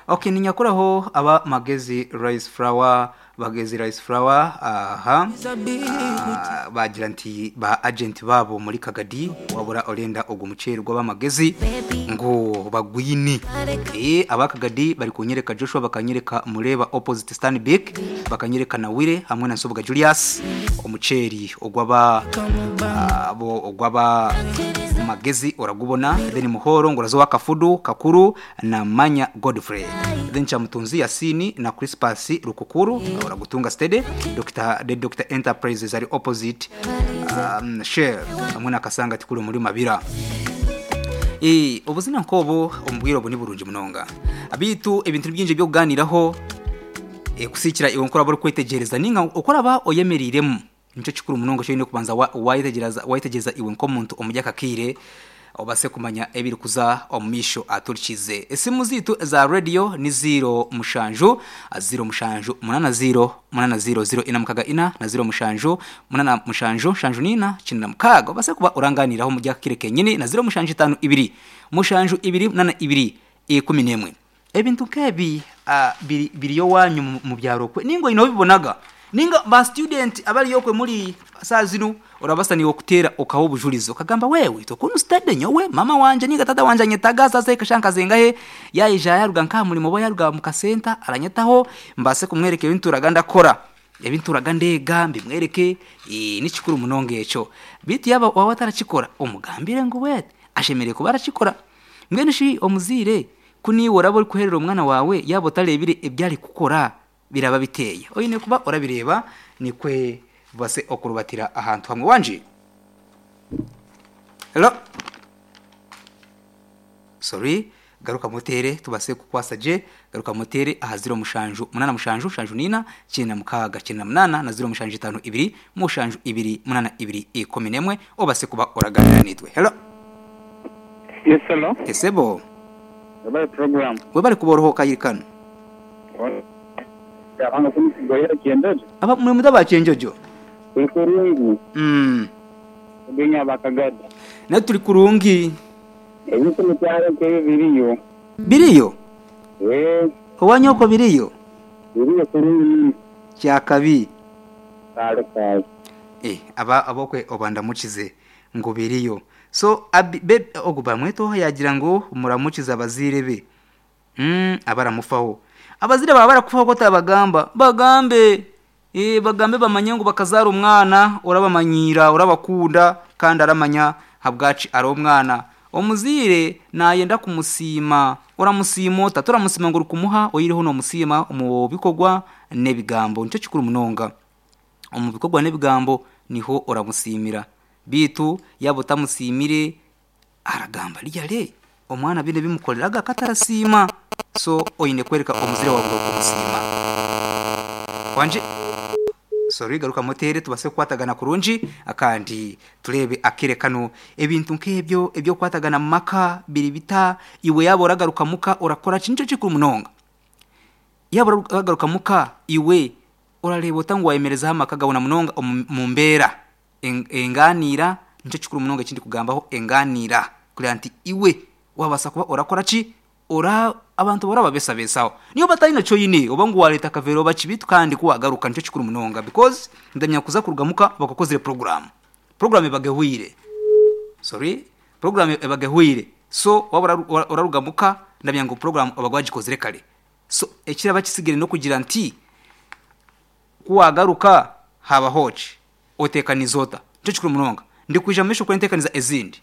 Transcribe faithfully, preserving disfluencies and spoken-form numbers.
Okay, ninyakuraho aba Magezi Rice Flour, Magezi Rice Flour, aha. Ah, bagira nti ba agent babo muri Kagadi wabura orenda ogwo muceri gw'abamagezi ngo bagwini. Eh, aba Kagadi bari kunyereka Joshua, bakanyereka Mureba opposite Stanbic, bakanyereka na Wire hamwe na Nsobuga Julius, omuceri ogwaba abo ogwaba Magezi oragubona. Then Muhoro ngo razo kafudu kakuru na Manya Godfrey, then Chamutunzi Yasini na Crispus Rukukuru oragutunga stede Doctor the Doctor Enterprises ari opposite um, Shell hamwe na Kasanga tikuru muri Mabira. Eh, ubuzina nkobo omubwiro obu ni burungi munonga abitu ebintu byingi byo kuganiraho e, kusikira iwe nkora bari kwetegereza ninga okoraba oyemeriremu nico kikuru munonga cyo kubanza wayitegereza wayitegereza iwe nkomuntu omujya kakire obase kumanya ebiri kuza omumisho aturikize. Esimu zitu za radio ni zero mushanju zero mushanju munana zero munana zero zero ina mukaga ina na zero mushanju munana mushanju shanju nina chinna mukaga obase kuba uranganiraho mujya kakire kenyini na zero mushanju itanu ibiri mushanju ibiri munana ibiri ikumi nemwe. Ebintu kebi uh, biri biriyo wanyu mu byaro kwe ningo ino bibonaga ninga ba student abali yokwe muri saa zinu urabasa ni okutera okaho bujulizo kagamba wewe tokunu stade nyowe mama wanje ninga tata wanje anyetaga sasa ikashanka zengahe yaija yaruga nka mulimo bo yaruga mu kasenta aranyetaho mbase kumwereke ebintu raganda kora ebintu ragandega mbimwereke e, nikikuru munonge eco bitu yaba wawe atarachikora omugambire ngo we ashemere kuba arachikora mbwene shi omuzire kuni worabo uri kuherera umwana wawe yabo tarebire ebyari kukora biraba biteye oyine kuba orabireba nikwe base okurubatira ahantu hamwe wanje. Hello, sorry, garuka motere tubase kukwasa je garuka motere aha zero mushanju munana mushanju shanju nina china mukaga china munana na zero mushanju itanu ibiri mushanju ibiri munana ibiri ikumi nemwe obase kuba oraganira nitwe. Hello. Yes, hello. Esebo Webale program. Webale kuborohoka yirikano. Abanga kumisigoyera kiendojo. Aba mwe mudaba kienjojo. Kurungi. Mm. Benya bakagada. Na turi kurungi. Ebintu mucyaro kebe biriyo. Biriyo? Eh. Owanyoko biriyo? Biriyo kurungi. Kyakabi. Kale kale. Eh, aba abokwe obanda mukize ngo biriyo. So abi be oguba mweto yagira ngo muramukiza abazire be. Mm, abaramufaho. Abazire baba barakufaho ko tabagamba bagambe eh bagambe bamanye ngo bakazara umwana urabamanyira urabakunda kandi aramanya habwaci ari umwana omuzire nayenda kumusima uramusimota turamusima ngo rukumuha oyiriho no musima mu bikogwa nebigambo nico kikuru munonga omu bikogwa nebigambo niho uramusimira bitu yabo tamusimire aragamba liyale omwana bine bimukoreraga katarasima. So oyine kwereka omuzire wawe kumusima wanje. Sorry, garuka motere tubase kwatagana kurungi akandi turebe akirekano ebintu nkebyo ebyo kwatagana maka biri bita iwe yabo ragaruka muka urakora kinco kikuru munonga yabo ragaruka muka iwe urareba utangwa emereza amaka gabona munonga mu mbera enganira nico kikuru munonga kindi kugambaho enganira kuri anti iwe wabasa kuba urakora ki ora abantu bora babesa besaho niyo batari naco yine oba ngo waleta kavero bakibitu kandi kuwagaruka nico kikuru munonga because ndamya kuza kurugamuka bakakozere program program ebagehwire sorry program ebagehwire so wabura orarugamuka ndamya ngo program abagwajikozere kale so ekiraba kisigere no kugira nti kuwagaruka haba hoci otekanizota nico kikuru munonga ndi kuja mesho kwentekaniza ezindi.